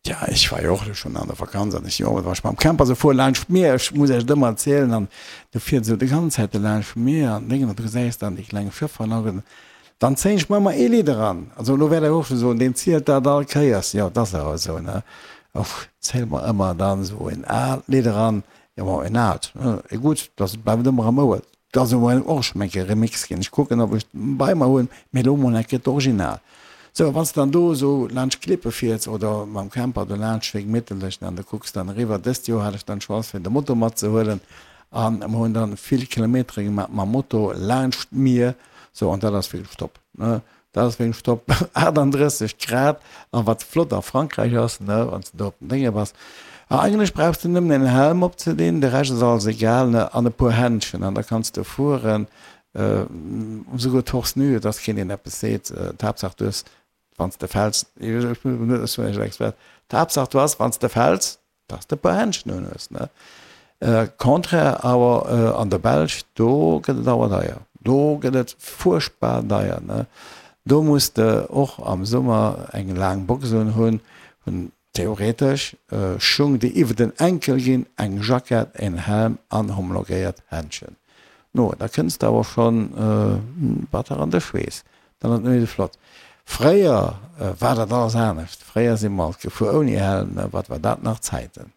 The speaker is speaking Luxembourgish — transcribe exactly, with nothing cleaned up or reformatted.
Ja, ech war jo och schonn an der Vakanz an ech, jo, wat war ech mam Camper sou fuer laanscht d'Mier, ech muss iech et ëmmer erzielen, an du fiers esou déi ganz Zäit do laanscht d'Mier an Déngen an du gesäis dann déi kleng Schëffer an dann zéien ech mer ëmmer ee Lidd eran. Also elo wäert der och scho soen, deen zielt dat all Kéiers. Jo, et ass awer esou, ne? Ech zéie mer ëmmer dann esou en aalt Lidd eran, jo, bon, en aalt, e gutt, dat bleift ëmmer am Ouer. Et ass elo och schonn eng Kéier Remix ginn. Ech kucken, ob ech et bei mer hunn, mee elo mol eng Kéier d'Original. Sou, wann s de dann do esou laanscht d'Klippe fiers oder mam Camper do laanscht wéi gemitterlech an du kucks dann eriwwer. Dëst Joer hat ech dann d'Chance fir de Moto matzehuelen an mer hunn dann vill Kilometere gemaach mam Moto laanscht d'Mier. Sou, an dat ass wierklech top, ne? Dat ass wierklech top. achtandrësseg Grad an wat flott a Frankräich ass, ne, wann s de do op den Dénge bass, a eigentlech brauchs de nëmmen en Helm opzedinn, de Rescht ass alles egal, ne, an e puer Händschen an da kanns de fueren. Esouguer torse nu, et ass keen deen eppes seet. D'Haaptsaach du hues, wann s de fäls, ech bin net esou en Expert, d'Haaptsaach du has, wann s de fäls, dass de e puer Händschen un hues, ne. Contraire awer an der Belsch, do gëtt et awer deier, do gëtt et fuerchtbar deier, ne. Do muss de och am Summer eng laang Box un hunn, hunn theoretesch Schung déi iwwer den Enkel ginn, eng Jackett, en Helm an homologéiert Händschen. No, da kënns de awer schonn batter an de Schweess. Dann ass et net méi esou flott. Fréier war dat alles anescht. Fréier si mer alt gefuer ouni Helm. Wat war dat nach Zäiten!